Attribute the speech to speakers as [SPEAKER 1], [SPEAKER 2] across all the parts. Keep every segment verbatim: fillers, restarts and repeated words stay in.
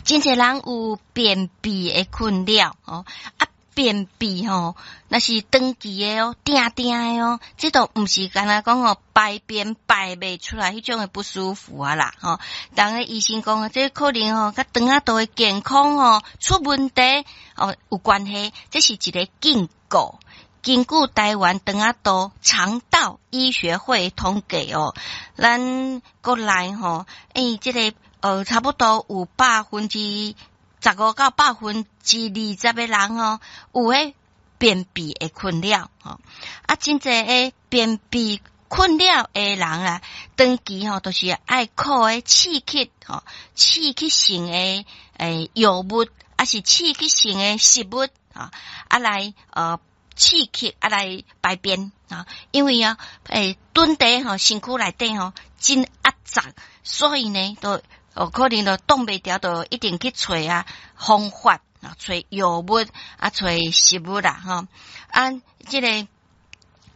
[SPEAKER 1] 真濟人有便秘的困擾吼，啊，便秘吼，若是長期的哦，定定的哦，這都毋是干焦講哦，排便排袂出來彼種的不舒服啊啦，吼。逐个醫生講啊，這可能吼，佮腸仔道的健康吼出問題哦有關係，這是一个警告。根據台灣腸仔道腸道醫學會統計哦，咱國內吼，欸，這个呃，差不多有百分之十五到百分之二十的人吼，有彼便秘的困擾吼。啊，真濟的便秘困擾的人啊，長期吼都是愛靠彼刺激吼，刺激性的欸藥物，抑是刺激性的食物啊，啊來呃。刺激啊來排便啊，因為啊，欸，蹲佇吼身軀內底吼真壓榨，所以呢，都哦可能都擋袂牢，就一定去揣啊方法啊，揣藥物啊，揣食物啦吼啊，這个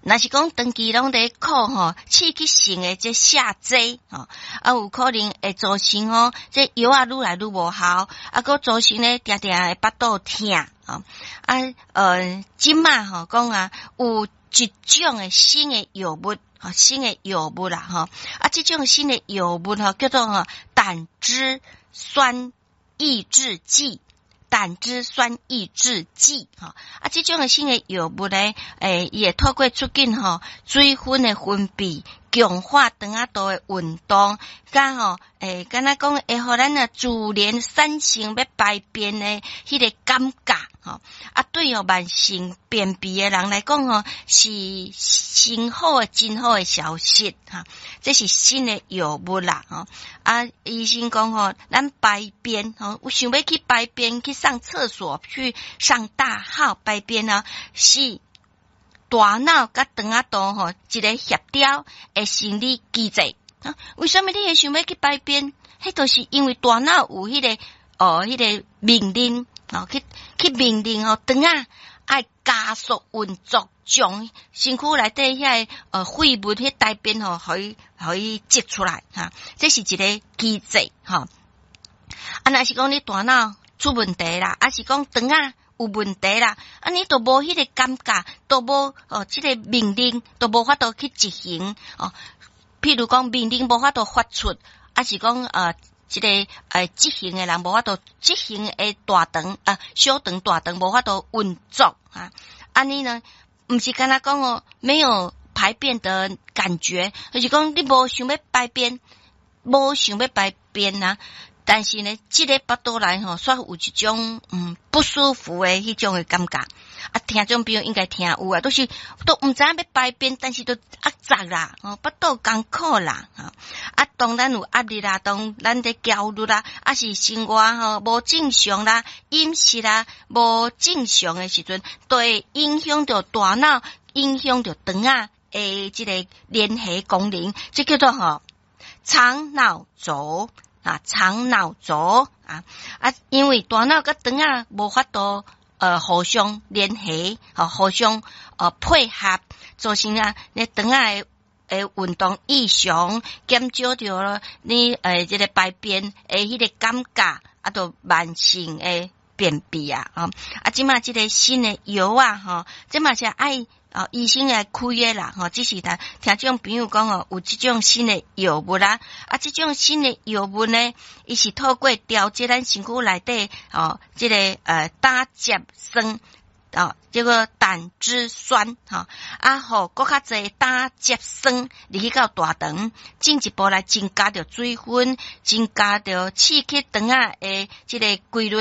[SPEAKER 1] 若是講長期攏佇靠吼刺激性的這瀉劑吼，啊有可能會造成吼這藥仔愈來愈無效，啊閣造成咧定定會腹肚疼。啊，呃，這馬吼講啊，有一種的新的藥物，新的藥物啦，吼，啊，這種新的藥物吼叫做吼膽汁酸抑制劑，膽汁酸抑制劑，吼，啊，這種的新的藥物咧，欸，伊會透過促進吼水分的分泌，強化腸仔道的運動，佮吼，欸，敢若講會予咱啊自然產生欲排便的彼个感覺，吼，啊，對哦慢性便秘的人來講吼，是真好的、真好的消息，哈，這是新的藥物啦，吼，啊，醫生講吼，咱排便吼，有想欲去排便去上廁所去上大號排便啊，是大腦佮腸仔道吼一個協調的生理機制啊。為啥物你會想欲去排便？彼就是因為大腦有彼个哦，彼个命令哦，去去命令哦，腸仔愛加速運作，將身軀內底遐个呃廢物、彼大便吼，予伊予伊擠出來哈。這是一个機制吼。啊，若是講你大腦出問題啦，抑是講腸仔有問題啦，啊，你都無彼个感覺，都無哦，這个命令都無法度去執行哦。譬如講命令無法度發出，抑是講呃，這个呃執行的人無法度執行的大腸啊，小腸大腸無法度運作啊。按呢呢，毋是干焦講哦，沒有排便的感覺，就是講你無想欲排便，無想欲排便啊。但是呢，這个腹肚內吼，煞有一種嗯不舒服的彼種的感覺。啊，聽眾朋友應該聽有啊，都是都毋知影欲排便，但是都壓榨啦，吼，腹肚艱苦啦，吼。啊，當咱有壓力啦，當咱佇焦慮啦，抑是生活吼無正常啦，飲食啦無正常的時陣，都會影響著大腦，影響著腸仔的這个聯繫功能，這叫做吼腸腦軸啊，腸腦軸啊啊，因為大腦佮腸仔無法度呃互相聯繫，吼互相呃配合，造成啊你腸仔的的運動異常，減少著你呃這个排便的彼个感覺，啊，就慢性的便秘啊，吼啊，這馬這个新的藥啊，吼，這嘛是愛哦，醫生來開的啦，吼，只是聽聽眾朋友講哦，有這種新的藥物啦，啊，這種新的藥物呢，伊是透過調節咱身軀內底哦，這个呃膽汁酸哦，這个膽汁酸吼，啊，予閣較濟膽汁酸入去到大腸，進一步來增加著水分，增加著刺激腸仔的這个規律。